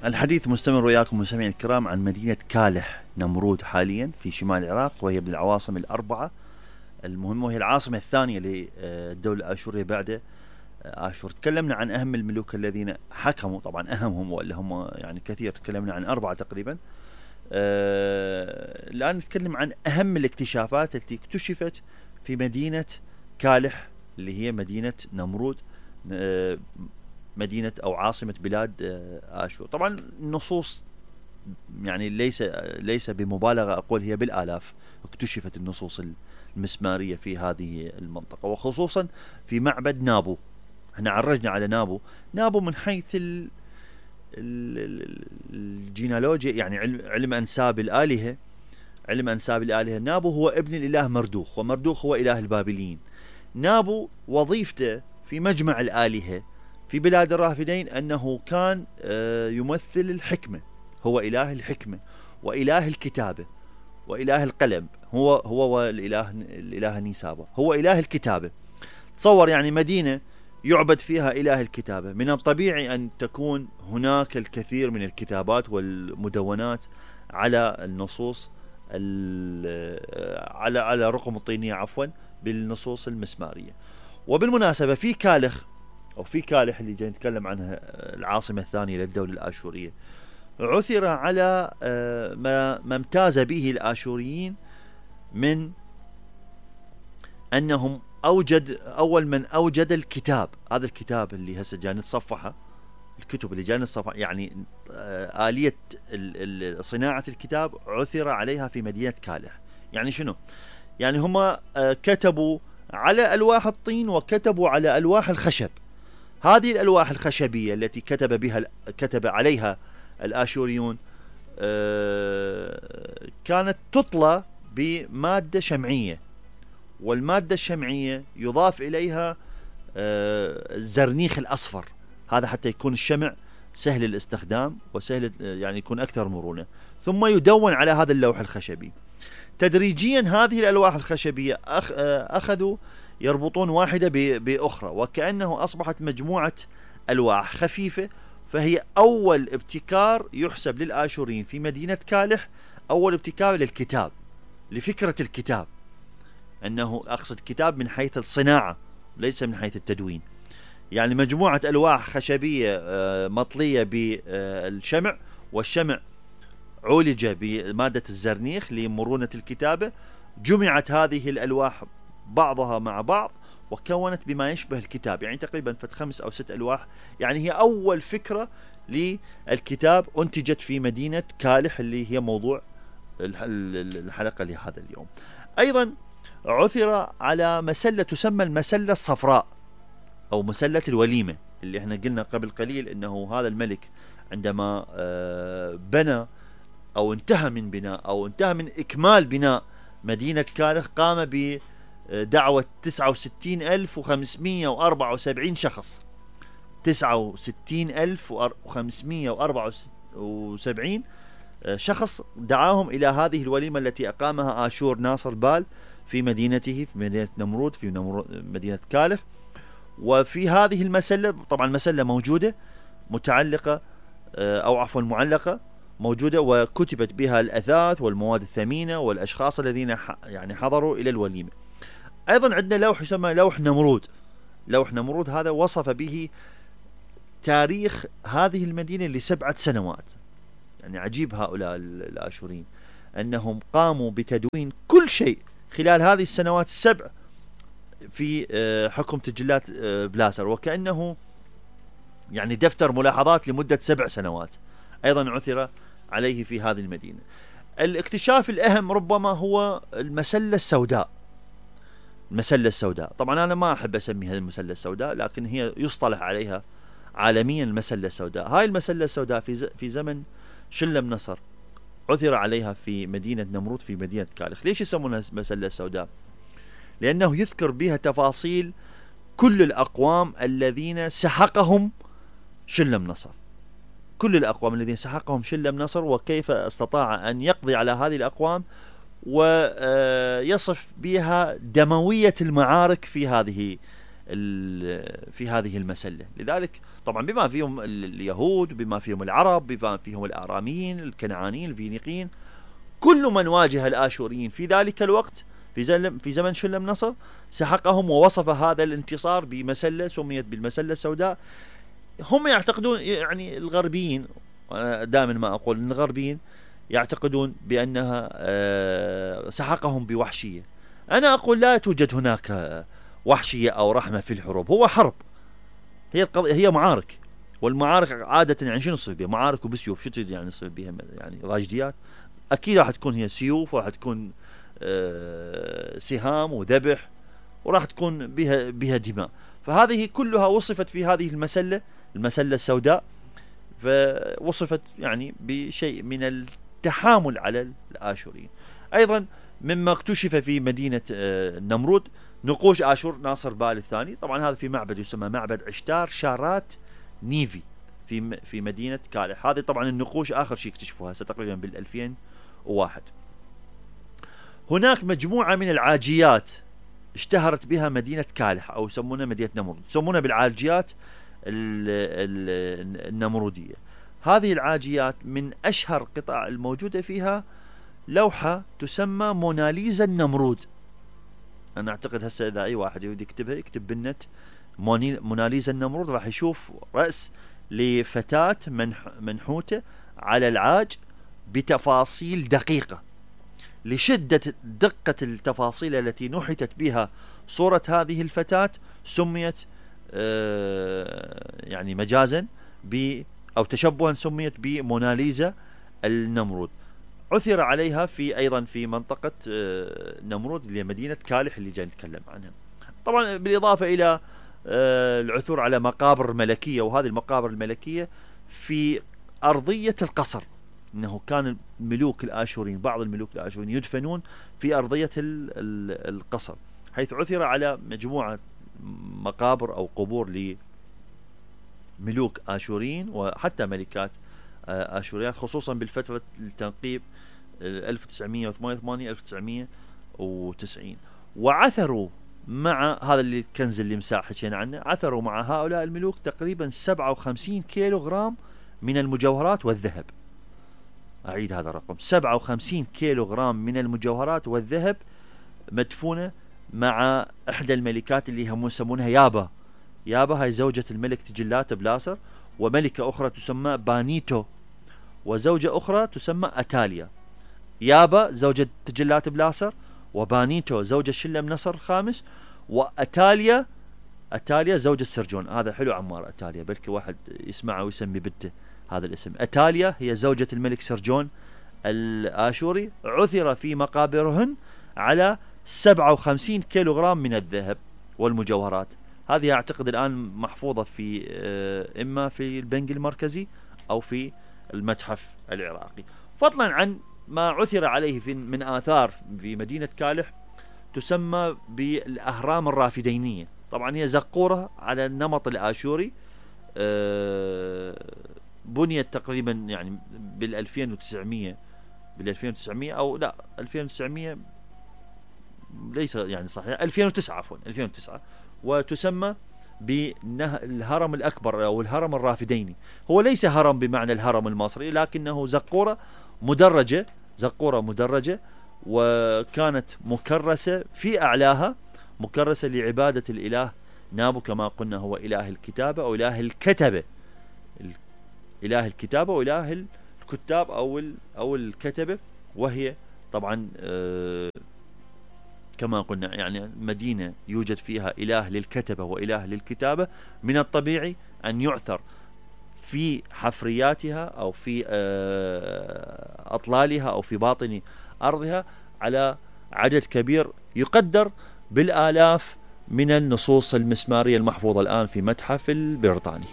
الحديث مستمر وياكم مستمعين الكرام عن مدينة كالح نمرود حاليا في شمال العراق، وهي من العواصم الأربعة المهمة، وهي العاصمة الثانية للدولة الآشورية بعد آشور. تكلمنا عن أهم الملوك الذين حكموا، طبعا أهمهم وإلا هم يعني كثير، تكلمنا عن أربعة تقريبا. الآن نتكلم عن أهم الاكتشافات التي اكتشفت في مدينة كالح اللي هي مدينة نمرود، مدينة أو عاصمة بلاد آشور. طبعا النصوص يعني ليس بمبالغة أقول هي بالآلاف اكتشفت النصوص المسمارية في هذه المنطقة، وخصوصا في معبد نابو. احنا عرجنا على نابو من حيث الجينالوجيا، يعني علم أنساب الآلهة. علم أنساب الآلهة، نابو هو ابن الإله مردوخ، ومردوخ هو إله البابليين. نابو وظيفته في مجمع الآلهة في بلاد الرافدين أنه كان يمثل الحكمة، هو إله الحكمة وإله الكتابة وإله القلم. هو الإله نيسابا هو إله الكتابة. تصور يعني مدينة يعبد فيها إله الكتابة، من الطبيعي أن تكون هناك الكثير من الكتابات والمدونات على النصوص على رقم الطينية عفوا بالنصوص المسمارية. وبالمناسبة في كالح اللي جاي نتكلم عنها العاصمة الثانية للدولة الآشورية، عثر على ما امتاز به الآشوريين من أنهم أول من أوجد الكتاب. هذا الكتاب اللي هسه جاي نتصفحه، الكتب اللي جاي نتصفحها، يعني آلية صناعة الكتاب عثر عليها في مدينة كالح. يعني شنو؟ يعني هم كتبوا على ألواح الطين وكتبوا على ألواح الخشب. هذه الألواح الخشبية التي كتب عليها الآشوريون كانت تطلى بمادة شمعية، والمادة الشمعية يضاف إليها الزرنيخ الأصفر، هذا حتى يكون الشمع سهل الاستخدام وسهل يعني يكون أكثر مرونة، ثم يدون على هذا اللوح الخشبي. تدريجيا هذه الألواح الخشبية أخذوا يربطون واحدة بأخرى، وكأنه أصبحت مجموعة ألواح خفيفة. فهي أول ابتكار يحسب للآشوريين في مدينة كالح، أول ابتكار للكتاب، لفكرة الكتاب، أنه أقصد كتاب من حيث الصناعة ليس من حيث التدوين. يعني مجموعة ألواح خشبية مطلية بالشمع، والشمع عولج بمادة الزرنيخ لمرونة الكتابة. جمعت هذه الألواح بعضها مع بعض وكونت بما يشبه الكتاب، يعني تقريبا 5 أو 6 ألواح. يعني هي أول فكرة للكتاب أنتجت في مدينة كالح اللي هي موضوع الحلقة لهذا اليوم. أيضا عثر على مسلة تسمى المسلة الصفراء أو مسلة الوليمة، اللي احنا قلنا قبل قليل أنه هذا الملك عندما بنى أو انتهى من بناء أو انتهى من إكمال بناء مدينة كالح قام بدعوة 69,574 شخص. 69,574 شخص دعاهم إلى هذه الوليمة التي أقامها آشور ناصر بال في مدينته، في مدينة نمرود، في مدينة كالح. وفي هذه المسلة، طبعا المسلة موجودة متعلقة أو عفوا معلقة موجودة، وكتبت بها الأثاث والمواد الثمينة والأشخاص الذين يعني حضروا إلى الوليمة. أيضا عندنا لوح يسمى لوح نمرود. لوح نمرود هذا وصف به تاريخ هذه المدينة ل7 سنوات. يعني عجيب هؤلاء الآشوريين أنهم قاموا بتدوين كل شيء خلال هذه السنوات ال7 في حكم تجلات بلاسر، وكأنه يعني دفتر ملاحظات لمدة 7 سنوات. أيضا عثر عليه في هذه المدينة. الاكتشاف الأهم ربما هو المسلة السوداء. المسلة السوداء طبعا أنا ما أحب أسميها المسلة السوداء، لكن هي يصطلح عليها عالميا المسلة السوداء. هاي المسلة السوداء في زمن شلم نصر عثر عليها في مدينة نمرود في مدينة كالح. ليش يسمونها المسلة السوداء؟ لأنه يذكر بها تفاصيل كل الأقوام الذين سحقهم شلم نصر، كل الأقوام الذين سحقهم شلم نصر، وكيف استطاع أن يقضي على هذه الأقوام ويصف بها دموية المعارك في هذه المسلة. لذلك طبعا بما فيهم اليهود، بما فيهم العرب، بما فيهم الآراميين، الكنعانيين، الفينيقيين، كل من واجه الآشوريين في ذلك الوقت في زمن شلمنصر سحقهم ووصف هذا الانتصار بمسلة سميت بالمسلة السوداء. هم يعتقدون، يعني الغربيين، دائما ما أقول أن الغربيين يعتقدون بأنها سحقهم بوحشية. أنا أقول لا توجد هناك وحشية أو رحمة في الحروب، هو حرب، هي معارك، والمعارك عادة يعني شنو نصير بها؟ معارك وبسيوف، شو تريد يعني نصير بها؟ يعني راجديات؟ أكيد راح تكون هي سيوف، وراح تكون سهام وذبح، وراح تكون بها دماء. فهذه كلها وصفت في هذه المسلة السوداء، فوصفت يعني بشيء من التحامل على الآشوريين. أيضا مما اكتشف في مدينة نمرود نقوش آشور ناصر بال الثاني. طبعا هذا في معبد يسمى معبد عشتار شارات نيفي في مدينة كالح. هذه طبعا النقوش آخر شيء اكتشفوها تقريبا بال2001. هناك مجموعة من العاجيات اشتهرت بها مدينة كالح، أو يسمونها مدينة نمرود، يسمونها بالعاجيات النمرودية. هذه العاجيات من أشهر قطع الموجودة فيها لوحة تسمى موناليزا النمرود. أنا أعتقد هسه إذا أي واحد يريد يكتبها يكتب بالنت موناليزا النمرود، راح يشوف رأس لفتاة منحوتة على العاج بتفاصيل دقيقة. لشدة دقة التفاصيل التي نحتت بها صورة هذه الفتاة سميت يعني مجازا أو تشبها سميت بموناليزا النمرود. عثر عليها أيضا في منطقة نمرود اللي هي مدينة كالح اللي جاي نتكلم عنها. طبعا بالإضافة إلى العثور على مقابر ملكية، وهذه المقابر الملكية في أرضية القصر، إنه كان الملوك الآشوريين، بعض الملوك الآشوريين يدفنون في أرضية القصر، حيث عثر على مجموعة مقابر أو قبور لملوك آشوريين وحتى ملكات آشوريات، خصوصا بالفترة التنقيب 1988 1990. وعثروا مع هذا الكنز اللي مساحتين عنه، عثروا مع هؤلاء الملوك تقريبا 57 كيلو غرام من المجوهرات والذهب. أعيد هذا الرقم، 57 كيلو غرام من المجوهرات والذهب مدفونة مع إحدى الملكات اللي هم يسمونها يابا. هاي زوجة الملك تجلات بلاسر، وملكة أخرى تسمى بانيتو، وزوجة أخرى تسمى أتاليا. يابا زوجة تجلات بلاسر، وبانيتو زوجة شلمنصر الخامس، وأتاليا زوجة سرجون. هذا حلو عمار، أتاليا بلكي واحد يسمعه ويسمي بنته هذا الاسم. أتاليا هي زوجة الملك سرجون الآشوري. عثر في مقابرهن على 57 كيلو غرام من الذهب والمجوهرات. هذه أعتقد الآن محفوظة في إما في البنك المركزي أو في المتحف العراقي. فضلا عن ما عثر عليه من آثار في مدينة كالح تسمى بالأهرام الرافدينية. طبعا هي زقورة على النمط الآشوري، بنيت تقريبا يعني بال2900 أو لا 2900 ليس يعني صحيح 2009 عفوا 2009. وتسمى بالهرم الأكبر أو الهرم الرافديني. هو ليس هرم بمعنى الهرم المصري، لكنه زقورة مدرجة، وكانت مكرسة في أعلاها، مكرسة لعبادة الإله نابو، كما قلنا هو إله الكتابة أو إله الكتبة، وإله الكتاب أو الكتبة. وهي طبعا كما قلنا يعني مدينة يوجد فيها إله للكتبة وإله للكتابة، من الطبيعي أن يعثر في حفرياتها أو في أطلالها أو في باطن أرضها على عدد كبير يقدر بالآلاف من النصوص المسمارية المحفوظة الآن في متحف البريطاني.